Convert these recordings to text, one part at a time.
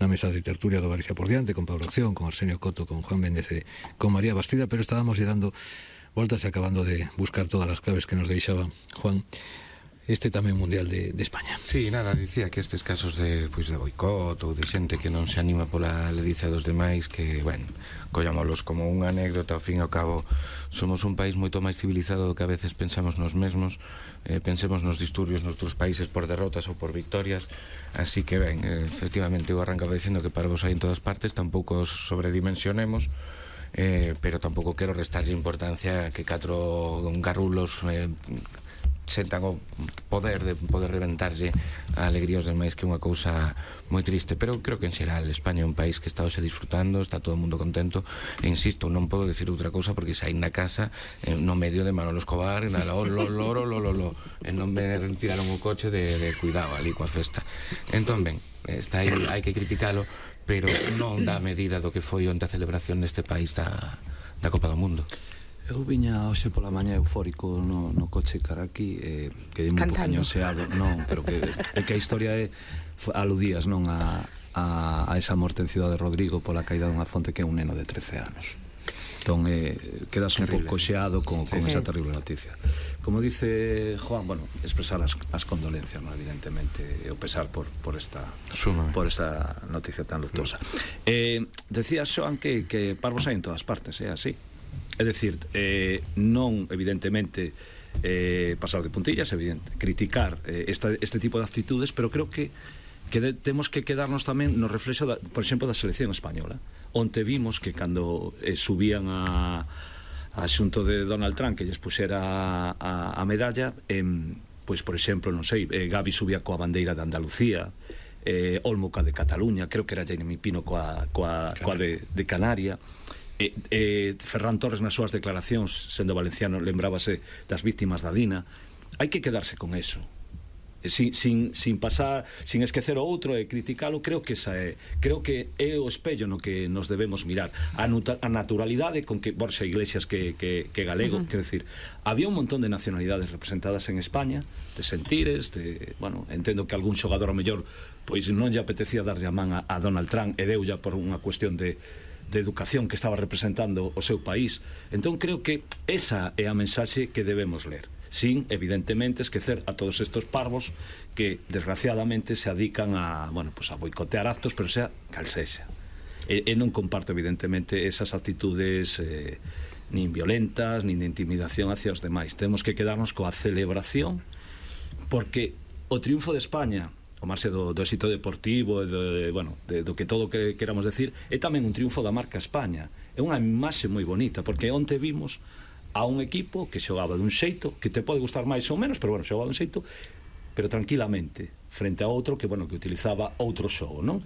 na mesa de tertulia do Galicia por diante, con Pablo Acción, con Arsenio Coto, con Juan Méndez e con María Bastida, pero estábamos dando voltas e acabando de buscar todas as claves que nos deixaba Juan este tamén Mundial de España. Sí, nada, dicía que estes casos de boicot ou de xente que non se anima pola ledicia dos demais, que, bueno, collámolos como unha anécdota. Ao fin e ao cabo somos un país moito máis civilizado do que a veces pensamos nos mesmos. Pensemos nos disturbios nos outros países por derrotas ou por victorias. Así que, ben, efectivamente eu arrancaba dicindo que parvos hai en todas partes, tampouco os sobredimensionemos, pero tampouco quero restarlle importancia que 4 garrulos sentan o poder de poder reventarlle a alegría aos demais, que é unha cousa moi triste. Pero creo que en xeral España é un país que está hoxe disfrutando, está todo o mundo contento, e insisto, non podo decir outra cousa porque saí na casa no medio de Manolo Escobar e non me retiraron o coche de cuidado ali coa festa. Entón, ben, está aí, hai que criticalo, pero non dá medida do que foi onte a celebración neste país da Copa do Mundo. Eu viña hoxe pola mañá eufórico no coche cara aquí, que dime un poquinho xeado, non, pero que a historia aludías, non, a esa morte en Cidade de Rodrigo pola caída dunha fonte que é un neno de 13 anos. Entón, quedas un pouco xeado con esa terrible noticia. Como dice Juan, bueno, expresar as condolencias, non, evidentemente, e o pesar por esta noticia tan luctuosa. Decía Xoan que parvos hai en todas partes, é así. É dicir, non, evidentemente, pasar de puntillas, evidente, criticar este tipo de actitudes, pero creo que temos que quedarnos tamén no reflexo, por exemplo, da selección española, onde vimos que cando subían a xunto de Donald Trump que lles puxera a medalla, pois, por exemplo, non sei, Gavi subía coa bandeira de Andalucía, Olmo coa de Cataluña, creo que era Jeremy Pino coa de Canaria. Ferran Torres nas súas declaracións, sendo valenciano, lembrábase das víctimas da Dina. Hai que quedarse con eso, sin pasar, sin esquecer o outro e criticalo. Creo que é o espello no que nos debemos mirar, a naturalidade con que Borja Iglesias que galego, quero dicir, había un montón de nacionalidades representadas en España, de sentires, bueno, entendo que algún xogador ao mellor pois non lle apetecía darlle a man a Donald Trump e deulla por unha cuestión de educación que estaba representando o seu país. Entón creo que esa é a mensaxe que debemos ler, sin, evidentemente, esquecer a todos estos parvos que, desgraciadamente, se adican a boicotear actos, pero sea cal sexa. E non comparto, evidentemente, esas actitudes nin violentas, nin de intimidación hacia os demais. Temos que quedarnos coa celebración, porque o triunfo de España, o marxe do éxito deportivo e do que todo que queramos decir, é tamén un triunfo da marca España. É unha imaxe moi bonita, porque onte vimos a un equipo que xogaba dun xeito que te pode gustar máis ou menos, pero xogaba dun xeito, pero tranquilamente, frente a outro que utilizaba outro xogo, non?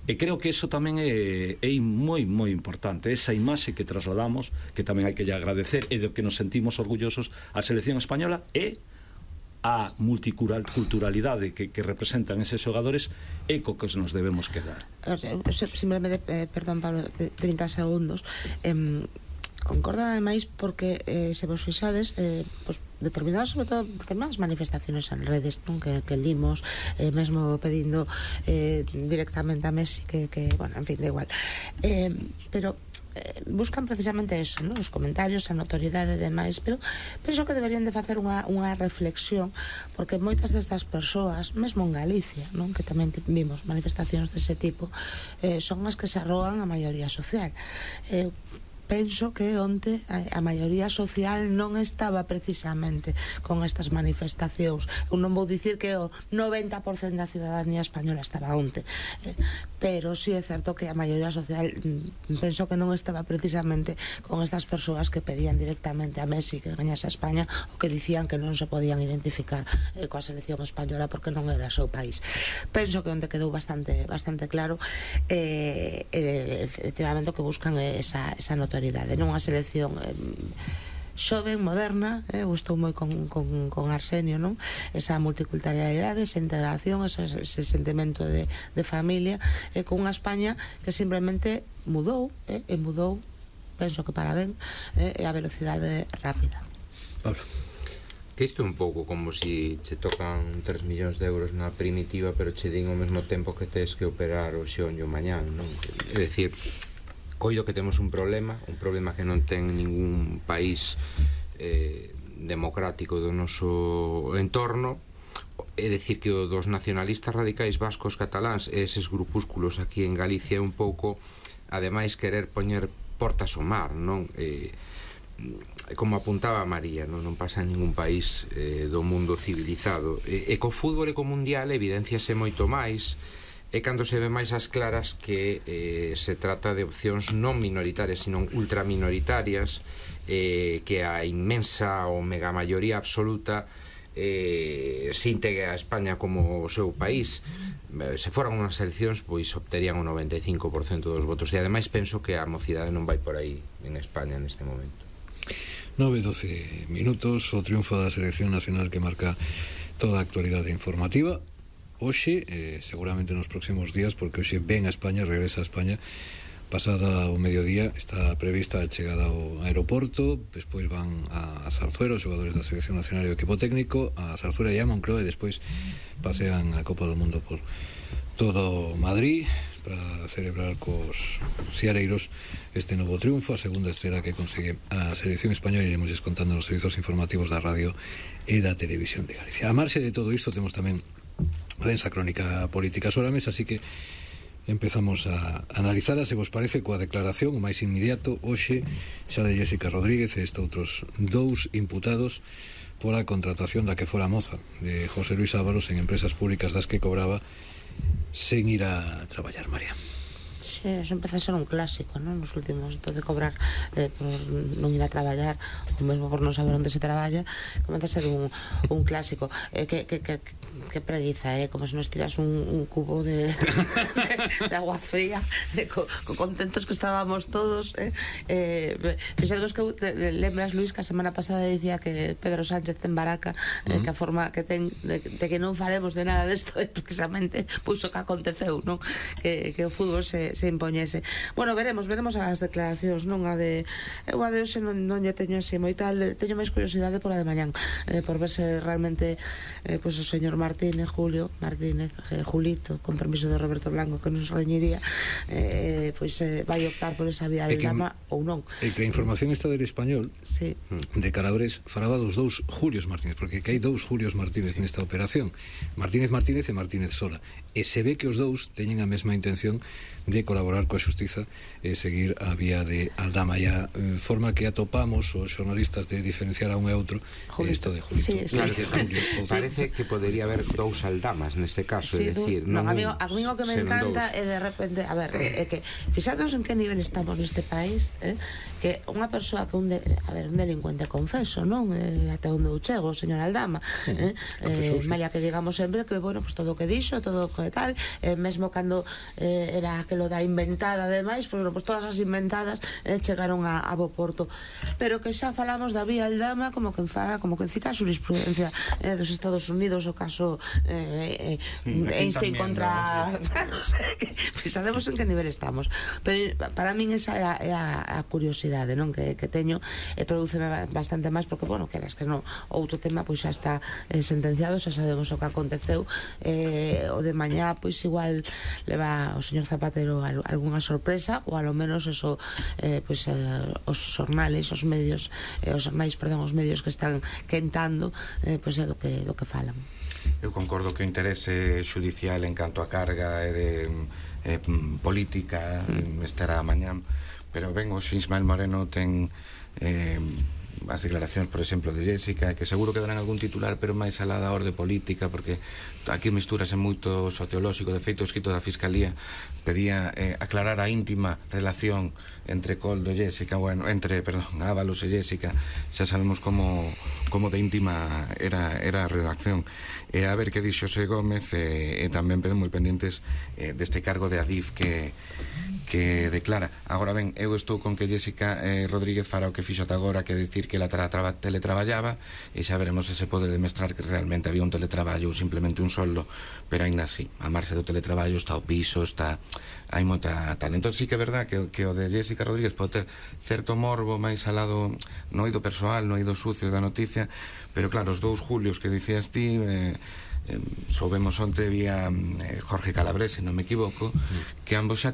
E creo que eso tamén é moi, moi importante, esa imaxe que trasladamos, que tamén hai que lle agradecer e do que nos sentimos orgullosos a selección española, e a multiculturalidade que representan eses xogadores, é co que nos debemos quedar. Simplemente, perdón, Pablo, 30 segundos. Concorda ademais porque se vos fixades, determinadas, sobre todo determinadas manifestaciones en redes, non, que limos, mesmo pedindo directamente a Messi que bueno, en fin, da igual, pero buscan precisamente eso, ¿no? Os comentarios, a notoriedade e demais, pero penso que deberían de facer unha reflexión, porque moitas destas persoas, mesmo en Galicia, non, que tamén vimos manifestacións dese tipo, son as que se arrogan a maioría social. Penso que onte a maioría social non estaba precisamente con estas manifestacións. Eu non vou dicir que o 90% da ciudadanía española estaba onte, pero sí é certo que a maioría social penso que non estaba precisamente con estas persoas que pedían directamente a Messi que gañase a España, ou que dicían que non se podían identificar coa selección española porque non era o seu país. Penso que onte quedou bastante claro, efectivamente o que buscan é esa notoriedade, non a selección xoven, moderna, gustou moi con Arsenio, non? Esa multiculturalidade, esa integración, ese sentimento de familia, con unha España que simplemente mudou, penso que para ben, a velocidade rápida. Pablo. Que isto é un pouco como si che tocan 3 millóns de euros na primitiva, pero che din ao mesmo tempo que tes que operar o xeonllo mañán, non? É dicir, coido que temos un problema que non ten ningún país democrático do noso entorno. É dicir, que o dos nacionalistas radicais vascos cataláns e eses grupúsculos aquí en Galicia é un pouco, ademais, querer poñer portas ao mar, non? Como apuntaba María, non pasa en ningún país do mundo civilizado, e co fútbol e co mundial evidenciase moito máis, e cando se ve máis as claras que se trata de opcións non minoritarias, sino ultraminoritarias, que a inmensa ou mega maioría absoluta se integre a España como o seu país. Se foran unhas eleccións, pois obterían o 95% dos votos, e ademais penso que a mocidade non vai por aí en España neste momento. 9-12 minutos, o triunfo da selección nacional que marca toda a actualidade informativa hoxe, seguramente nos próximos días, porque hoxe ven a España, regresa a España pasada o mediodía. Está prevista a chegada ao aeroporto, despois van a Zarzuela os xogadores da selección nacional e o equipo técnico, a Zarzuela e a Moncloa, e despois pasean a Copa do Mundo por todo Madrid para celebrar cos siareiros este novo triunfo, a segunda estrela que consegue a selección española. Iremos contando nos servizos informativos da radio e da televisión de Galicia. A marxe de todo isto temos tamén a densa crónica política sobre a mesa, así que empezamos a analizar, se vos parece, coa declaración o máis inmediato hoxe xa de Jéssica Rodríguez e outros dous imputados pola contratación da que fora moza de José Luis Ábalos en empresas públicas das que cobraba sen ir a traballar, María. Sí, eso empeza a ser un clásico, non? Nos últimos, de cobrar por non ir a traballar, ou mesmo por non saber onde se traballa, comeza a ser un clásico. Que preguiza, como se nos tiras un cubo de agua fría, co contentos que estábamos todos. Fixemos que lembras, Luis, que a semana pasada dicía que Pedro Sánchez ten baraca, que a forma que ten de que non falemos de nada desto é precisamente pois o que aconteceu, non? Que o fútbol se impoñese. Bueno, veremos as declaracións, non? Eu a de hoxe non lle teño así moi tal, teño máis curiosidade por a de mañán, por ver se realmente pois o señor Julito, con permiso de Roberto Blanco, que nos reñiría, pois vai optar por esa vía de Lama ou non. E que a información está del Español, sí, de Calabres, falaba dos dous Julios Martínez, porque que hai dous Julios Martínez nesta operación, Martínez e Martínez Sola, e se ve que os dous teñen a mesma intención de colaborar coa xustiza e seguir a vía de Aldama, e a forma que atopamos os xornalistas de diferenciar a un e outro isto de Julito. Sí, sí. Claro, que parece que podería haber dous Aldamas neste caso, sí, é dicir, non, a mí o que me encanta é de repente, a ver, é que fixados en que nivel estamos neste país, que unha persoa que un delincuente confeso, non? Até onde eu chego, señor Aldama, malia que digamos sempre que, bueno, pues todo o que dixo, todo o que tal, mesmo cando era aquelo da inventada, ademais, pues todas as inventadas chegaron a bo porto, pero que xa falamos da vía Aldama como que cita a jurisprudencia dos Estados Unidos, o caso Einstein contra non sei, sabemos en que nivel estamos, pero para min esa é a curiosidade, non? Que teño, e prodúceme bastante máis, porque, bueno, queres que non, outro tema pois xa está sentenciado, xa sabemos o que aconteceu, o de mañá pois igual leva o señor Zapatero algunha sorpresa, ou alo menos eso, pois os xornales, os medios, os medios que están quentando, pois é do que falan. Eu concordo que o interese xudicial en canto a carga e de política estará mañán, pero ben, o Ismael Moreno ten as declaracións, por exemplo, de Jéssica, que seguro que darán algún titular, pero máis alá da orde política, porque aquí misturase moito sociolóxico. De feito, o escrito da Fiscalía pedía aclarar a íntima relación entre Coldo e Jéssica, bueno, entre, Ábalos e Jéssica. Xa sabemos como de íntima era a redacción. A ver que dixo Xosé Gómez, e tamén moi pendentes deste cargo de Adif que que declara. Agora ben, eu estou con que Jessica Rodríguez fará o que fixo ata agora, que decir que ela teletraballaba, e xa veremos se se pode demostrar que realmente había un teletraballo ou simplemente un soldo, pero ainda así, a marxa do teletraballo está o piso, está, hai moita tal. Entón sí que é verdad que o de Jessica Rodríguez pode ter certo morbo máis al lado no eido persoal, no eido sucio da noticia, pero claro, os 2 julios que dicías ti, soubemos onte vía Jorge Calabrese, non me equivoco, que ambos xa